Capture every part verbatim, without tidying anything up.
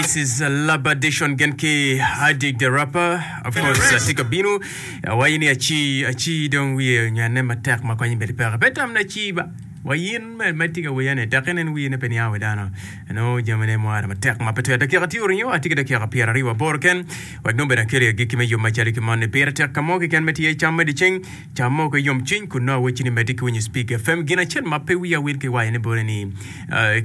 This is Labadation gen ki Adik the rapper. Of course, atye ka bino awaco ni aci aci dong wiye onywene matek ma konye bene peke. Pe tam ni aci ba wa in me ma itye ka wiya ni dok inen wiye ne pe niango wi dano. Nongo jamine mwara matek ma pe twere. Dakika tye oringo atye ki dakika pyeraryo aboro ken wek nongo bene akeli agikki me yub macalo ki moni. Pire tek ka mo keken me tye cam me dyeceng cam mo ki yomcwiny kun nongo awecci ni medde ki winyo Speak F M. Gin acel ma pe wiya wil ki waco ne boti ni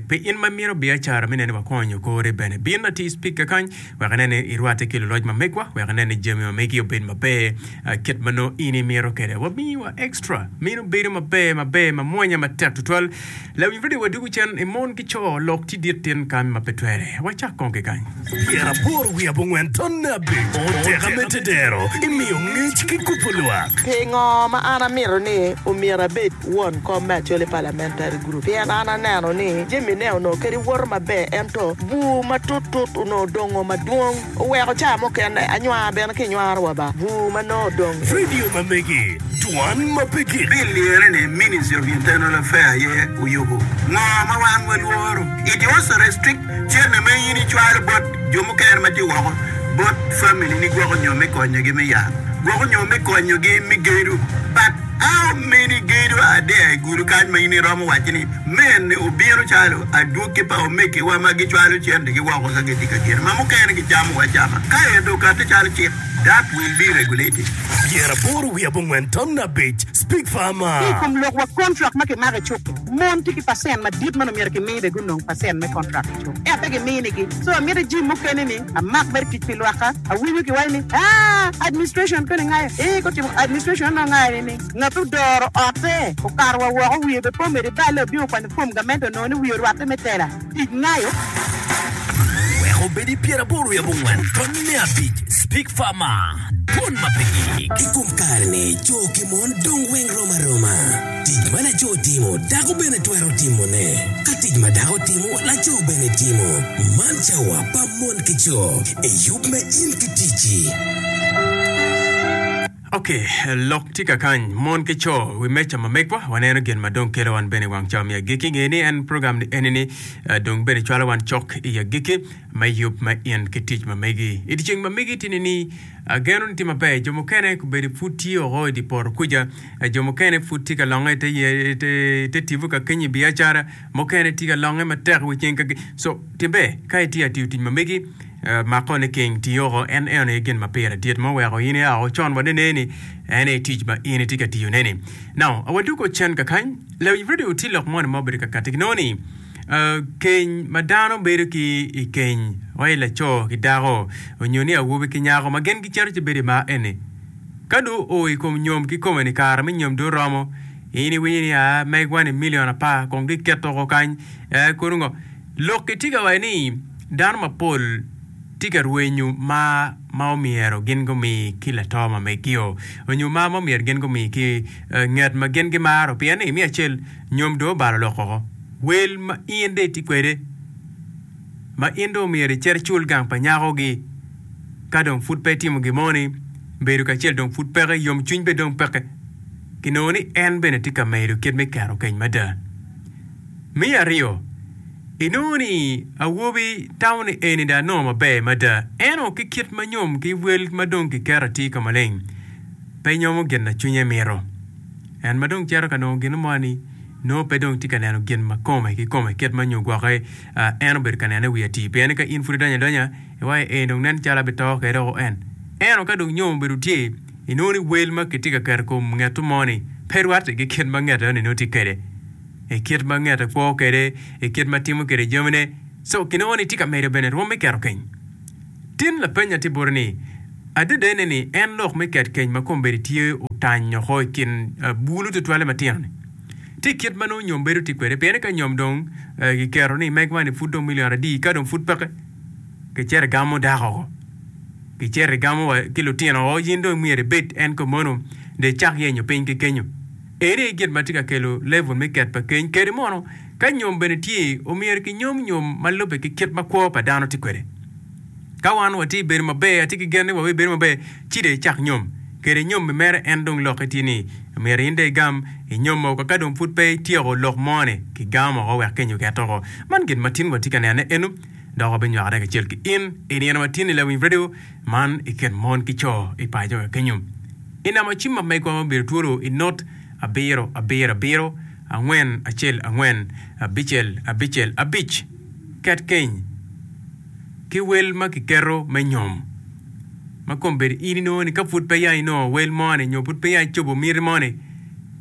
Pi in ma imito biacara me neno ni wakonyo kore bene, bin atir Speaker kany wek inen ni irwatte ki luloc ma megwa wek inen ni jami ma megi obed maber kit ma nongo in imito kwede. Wamiyi wa extra meno bedo maber maber mamwonya matek tutwal. Lawiny radio wadwogo cen i mon ki co lok tye dit tin kany ma pe twere. Wacak kong ki kany. Pyeraboro wiye abongwen tonne abic oteka me tedero imiyo ngec ki kubo lwak. Pingo ma an amito ni omyero abed won kom me Acholi Parliamentary Group? Pien an aneno ni jami ne onongo kadi woto maber ento bur matut tut onongo dongo madwong oweko ca mukene anywar bene ki nywaro wa ba bur ma nongo odong. Radio ma megi dwan ma pe gik. Bill lire ni Ministry of Internal Affair aye oyubo. Ngo ma wan walworo? It also restrict cente ma in icwalo bot jo mukene ma tye woko bot family ni gwoko nyo me konyogi me yat, gwoko nyo me konyogi me gedo. But how many gedo are there i gudo kany ma in iromo waco ni mene obino calo adwogi pa omegiwa ma gicwalo centegi woko ka gitye ka gedo ma mukene gicamo wa acama ka ento okate calo cik that will be regulated. Pyeraboro wiye abongwen ton abic Speak Farmer. Ki i kom lok wa kontrak ma kimako i cuk-ki, mon tye ki pacent madit ma nongo myero kimi bene gunong pacent me kontrak i cuk, ento pe giminigi. So amito jami mukene ni amak mere tic pi lwakka. Awinyo kiwaco ni, Aa, administration koni ngayo. Ee, gutimo administration onongo ngayo nining? Ngat odoro otte, okato wa woko, wiye bene pe omedo iballe, obino okwanyo fom gamente onongo ni wiye orwatte me tela. Tic ngayo. Wek obed i pyeraboro wiye abongwen tonne abic Speak Farmer, Dwon ma pe gik. I kom kare-ni, co ki mon dong weng rom aroma. Tic ma laco timo, dako bene twero timone. Ka tic ma dako timo, laco bene timo. Man cawa pa mon ki co i yub me In ki Ticci. Ok, lok tye kakany, mon ki co wi meja ma megwa, waneno gin ma dong kelo wan bene i wang cawa me agikki. Nge ni en program ni eni ni dong bene cwalo wan cok i agikki me yub me in ki tic ma megi. I dyeceng ma megi tye ni ni ageno ni tye maber, jo mukene kobedo pud tye oko i dye poto kuca, jo mukene pud tye ka longe i te tipo ka kenyo i biacara, mukene tye ka longe matek i wi ceng ka so tye ber ka itye ka tiyo tic ma megi. Mako ni king tiyo en eno aye gin ma pire dit ma oweko in ia woko con wa nene ni en aye tic ma in itye ka tiyo ne ni. Now, wadwogo cen kakany, lawiny radio tye lok moni ma obedo ka kati kinongo ni keny ma dano bedo ki i keny wai laco ki dako onyo ni awobi ki nyako ma gin gicito ci bedo i mar eni ka dong oo i kom nyom kikome ni kare me nyom dong oromo in iwinyo ni aa megwa ni million apar kong giketo oko kany ee kono ngo Lok ki tye ka waco ni dano mapol tye ka rwenyo mar ma omyero gin gumi ki lato ma megio onyo mar ma omyero gin gumi ki nget ma gin gimaro pien ni me acel nyom dong obalo lok oko. Wel ma in dong itye kwede ma in dong omyero icit icul gang pa nyakogi ka dong pud pe itimo gin mo ni bedo kacel dong pud peke yomcwiny bene dong peke kinongo ni en bene tye ka medo kit me keto keny mada. Me aryo, inongo ni awobi tamo ni eni dong anongo maber mada, ento ki kit ma nyom ki wel ma dong kiketo atir ka maleng, pe nyomo gin ma cwinye mito. En ma dong cito ka nongo gin mo-ni, nongo pe dong tye ka neno gin ma kome kikome kit ma nyo gwoke en obedo ka nene i wi atir. Pien ka in pud idonyo adonya, iwaco ni, 'Eni dong nen calo abito kwede woko en. Ento ka dong nyom obedo tye, inongo ni wel ma kitye ka keto i kom ngeto mo-ni pe rwatte ki kit ma nget eno-ni nongo tye kwede. I kit ma ngete kwo kwede, i kit ma timo kwede jamine. Co kinongo ni tye ka medo bene rwom me keto keny. Tin lapeny atye bote ni, Adadane ni en lok me ket keny ma kombeddi tye otany oko i kin bulu tutwalle matino-ni? Tye kit ma nongo nyom bedo tye kwede, pien ka nyom dong kiketo ni megwa ni pud dong milion adi ka dong pud peke, kicito igamo dako oko. Kicito igamo wa ki lutino oko, in dong myero ibed en komono dong icak yenyo piny ki kenyo. Eni aye gin ma tye ka kelo level me ket pa keny. Kadi mono, ka nyom bene tye, omyero kinyom nyom ma lubbe ki kit ma kwo pa dano tye kwede. Ka wan watye i bedo maber, atye ki gen ni wabibedo maber, ci dong icak nyom. Kadi nyom-mi mere en dong lokke tye ni, myero in dong igam inyom woko. Ka dong pud pe ityeko lok mo-ni, kigamo woko wek keny oket woko. Man gin ma tin watye ka nenone eno. Dok wabinywakone kacel ki in i nino ma tye ni Lawiny Radio man i kin mon ki co i paco wa kenyo. I namba cim ma megwa ma obedo twolo i not abiro abiro abiro angwen acel angwen abicel abicel abic ket keny ki wel ma kiketo me nyom ma kombeddi in inongo ni ka pud pe ya inongo wel moni nyo pud pe ya icobo miti moni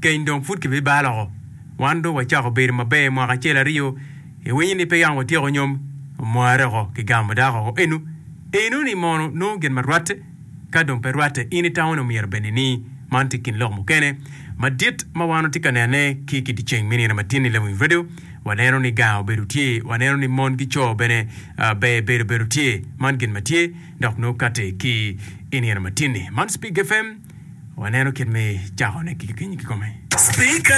keny dong pud kibibalo oko. Wan dong wacako bedo maber mwaka acel aryo iwinyo ni pe yam watyeko nyom omware oko kigamo dako oko enu enu ni mono nongo gin ma rwatte ka dong pe rwatte in itamo ni omyero bene ni man tye kin lok mukene madit ma wan watye ka nene ki ki dyeceng me nino matin i Lawiny Radio waneno ni gang obedo tye waneno ni mon ki co bene ber bedo bedo tye man gin ma tye dok nongo kati ki i nino matin-ni man Spig FM waneno kit me cakone ki kenyo kikome. Speaker.